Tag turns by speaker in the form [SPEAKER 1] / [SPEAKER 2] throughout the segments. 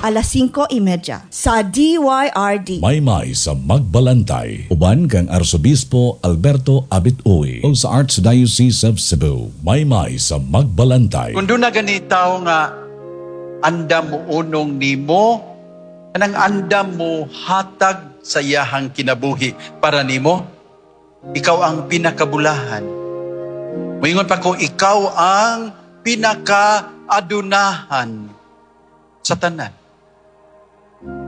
[SPEAKER 1] Alas 5:30 sa DYRD.
[SPEAKER 2] Maymay sa Magbalantay. Uban kang Arsobispo Alberto Abit Uy o sa Archdiocese of Cebu. Maymay sa Magbalantay.
[SPEAKER 3] Kung duna gani tao nga andam mo unong nimo, kanang andam mo hatag sa iyahang kinabuhi para nimo, ikaw ang pinakabulahan. Moingon pa ko, ikaw ang pinakaadunahan sa tanan.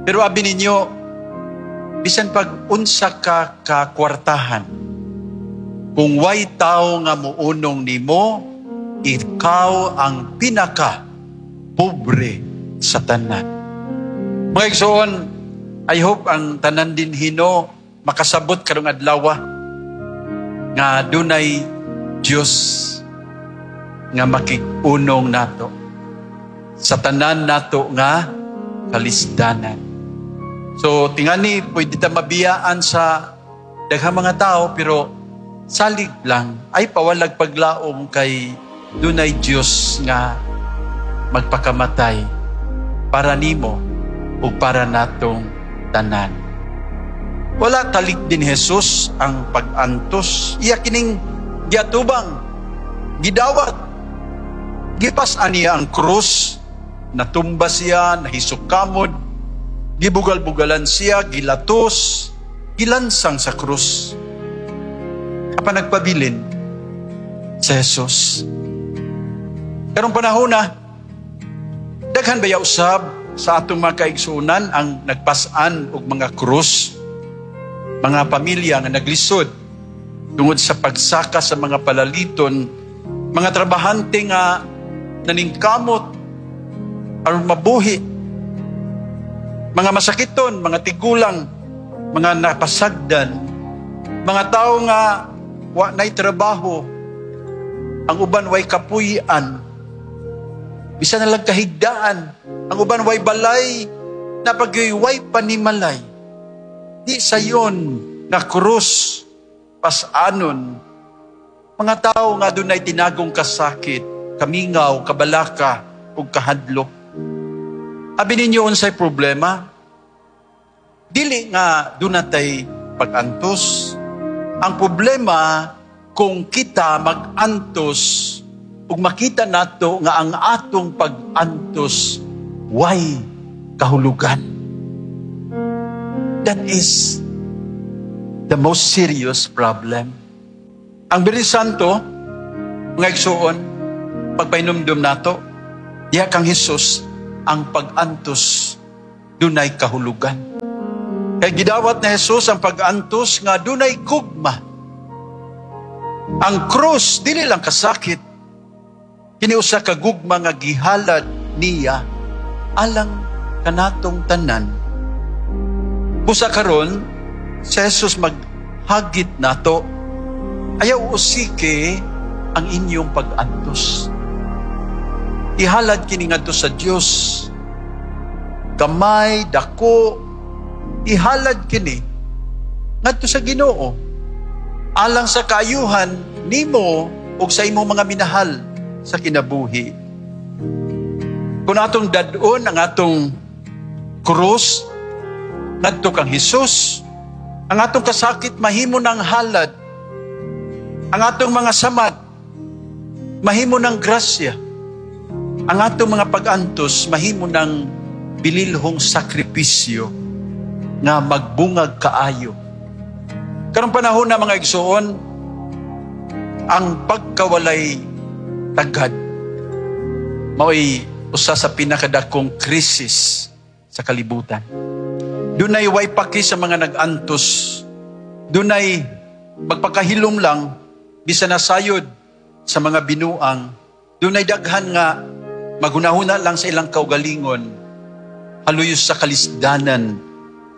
[SPEAKER 3] Pero abi ninyo, bisan pag unsa ka kakwartahan, kung way tao nga muunong nimo, ikaw ang pinaka pobre sa tanan. Mga igsoon, I hope ang tanan din hino makasabot karong adlaw nga dunay Dios nga makig-unong nato sa tanan nato nga kalisdanan. So tingani pwede ta mabiyaan sa daghang mga tao, pero salig lang ay pawalag paglaom kay dunay Dios nga magpakamatay para nimo ug para natong tanan. Wala talik din Jesus ang pag-antos. Iya kining giatubang, gidawat, gipas-an niya ang krus, natumba siya, nahisok kamod, gibugal-bugalan siya, gilatos, gilansang sa krus. Apan nagpabilin sa Jesus. Karong panahon na, daghan baya usab sa atong mga kaigsuonan ang nagpas-an og mga krus, mga pamilya nga naglisod tungod sa pagsaka sa mga palaliton, mga trabahante nga naningkamot aron mabuhi, mga masakiton, mga tigulang, mga napasagdan, mga tao nga wa nay trabaho, ang uban way kapuy-an, bisan na lang kahigdaan, ang uban way balay, napagyoy way panimalay. Di sayon nga krus pas-anon. Mga tao nga dunay tinagong kasakit, kamingaw, kabalaka, ug kahadlok. Abi ninyo, unsay problema? Dili nga dunatay pag-antos. Ang problema kung kita mag-antos ug makita nato nga ang atong pag-antos way kahulugan. That is the most serious problem. Ang Biyernes Santo, mga igsuon, pagpahinumdum nato, diha kang Jesus, ang pag-antos dunay kahulugan. Kay gidawat ni Jesus ang pag-antos nga dunay gugma. Ang krus, dili lang kasakit. Kini usa ka gugma nga gihalad niya alang kanatong tanan. Busa karon, si Jesus maghagit nato, ayaw usiki ang inyong pag-antos. Ihalad kini ngadto sa Dios. Gamay, dako, ihalad kini ngadto sa Ginoo. Alang sa kaayuhan nimo ug sa imong mga minahal sa kinabuhi. Kung atong dad-on ang atong krus ngadto kang Hesus, ang atong kasakit mahimo ng halad. Ang atong mga samad mahimo ng grasya. Ang atong mga pag-antos mahimo ng bililhong sakripisyo nga magbungag kaayo. Karong panahon na, mga igsoon, ang pagkawalay tagad mao'y usa sa pinakadakong krisis sa kalibutan. Dunay way paki sa mga nag-antos. Dunay magpakahilom lang bisan nasayod sa mga binuang. Dunay daghan nga magunahuna lang sa ilang kaugalingon, haluyos sa kalisdanan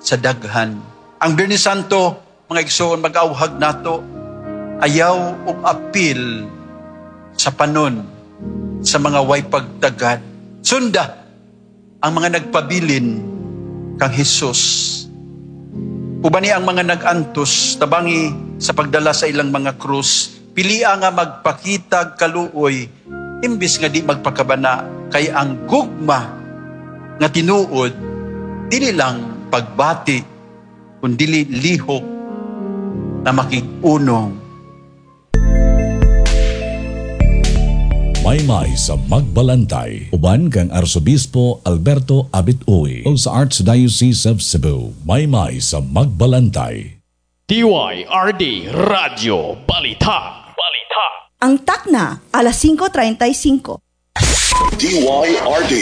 [SPEAKER 3] sa daghan. Ang Biyernes Santo, mga igsoon, mag-auhag nato, ayaw og apil sa panon sa mga way pagtagad. Sunda ang mga nagpabilin kang Hesus. Ubani ang mga nag-antos, tabangi sa pagdala sa ilang mga krus, pilia nga magpakitag kaluoy, imbis nga di magpakabana, kay ang gugma Nga tinuod, dili lang pagbati, kundili lihok na makig-unong.
[SPEAKER 2] Maymay sa Magbalantay. Uban kang Arsobispo Alberto Abit Uy o sa Archdiocese of Cebu. Maymay sa Magbalantay.
[SPEAKER 4] DYRD Radyo Balita. Balita.
[SPEAKER 1] Ang takna, alas 5:35.
[SPEAKER 5] DYRD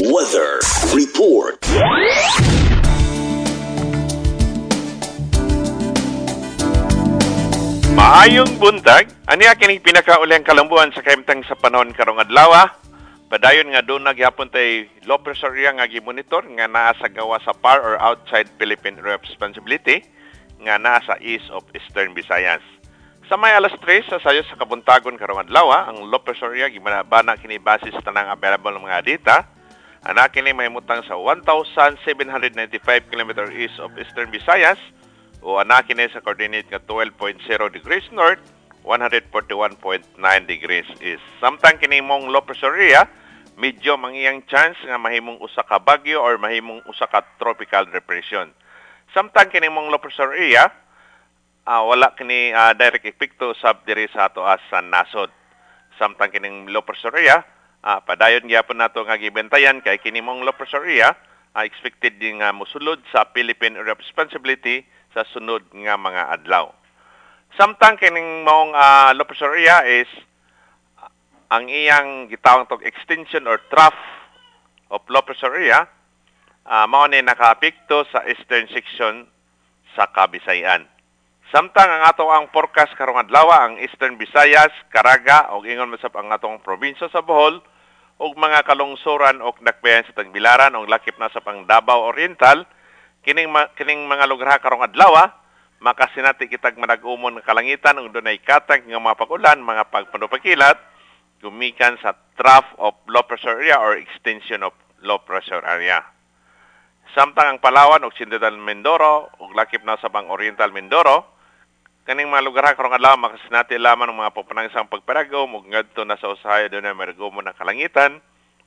[SPEAKER 5] Weather Report.
[SPEAKER 6] Maayong buntag, aniya kining pinakaulihang kalambuan sa kahimtang sa panahon karong adlaw. Padayon nga doon nagyapon tay low pressure area nga gimonitor nga naa sa gawa sa par or outside Philippine Area of Responsibility nga naa sa east of Eastern Visayas. Sa may alas 3 sa sayo sa kabuntagon karong adlaw, ang low pressure area gimanabana kini basis tanang available mga data. Ana kini mahimutang sa 1,795 km east of Eastern Visayas o ana kini sa coordinate nga 12.0 degrees north, 141.9 degrees east. Samtang kini mong low pressure area, medyo mangiyang chance nga mahimong usa ka bagyo or mahimong usa ka tropical depression. Samtang kini mong low pressure area, wala kini direct epekto sab diri sa atoa sa nasod. Samtang kining low pressure area, padayon gyapon nato nga gibentayan kay kini mong low pressure area, expected din nga mosulod sa Philippine Area of Responsibility sa sunod nga mga adlaw. Samtang kining maong low pressure area is ang iyang gitawag tog extension or trough of low pressure area, mao ni nakaapekto sa eastern section sa Kabisayan. Samtang ang ato ang forecast karong adlaw, ang Eastern Visayas, Caraga ug ingon man sab ang atong probinsya sa Bohol ug mga kalungsuran ug dakbayan sa Tagbilaran ug lakip na sa pang Davao Oriental, kining mga lugar karong adlaw makasinati kitag manag-umon nga kalangitan ug dunay katag nga mga pag-ulan, mga pagpanupakilat gumikan sa trough of low pressure area or extension of low pressure area. Samtang ang Palawan ug Central Mindoro ug lakip na sa pang Oriental Mindoro, kaning mga lugar karong adlaw makasinati lamang ng mga pupanagsang pagparagom ug ngadto na sa usahay dunay maragumon ang kalangitan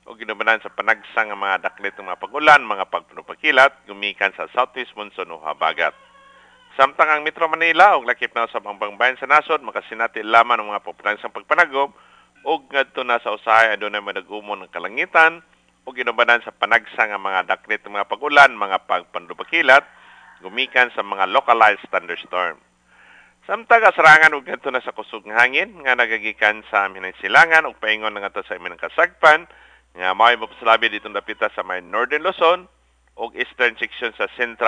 [SPEAKER 6] ug ginubanan sa panagsang nga mga daklit ng mga pag-ulan, mga pagpanupakilat gumikan sa southeast monsoon o habagat. Samtang ang Metro Manila ug lakip na sa pangbayan sa nasod makasinati lamang ng mga pupanagsang pagpanagom ug ngadto na sa usahay adunay madagumon ang kalangitan ug ginubanan sa panagsang nga mga daklit ng mga pag-ulan, mga pagpanupakilat gumikan sa mga localized thunderstorm. Samtang asarangan ug ngadto na sa kusog nga hangin nga nagagikan sa aming silangan ug paingon na ngadto sa aming kasagpan nga mao'y mapasalabi ditong dapita sa may Northern Luzon ug eastern section sa Central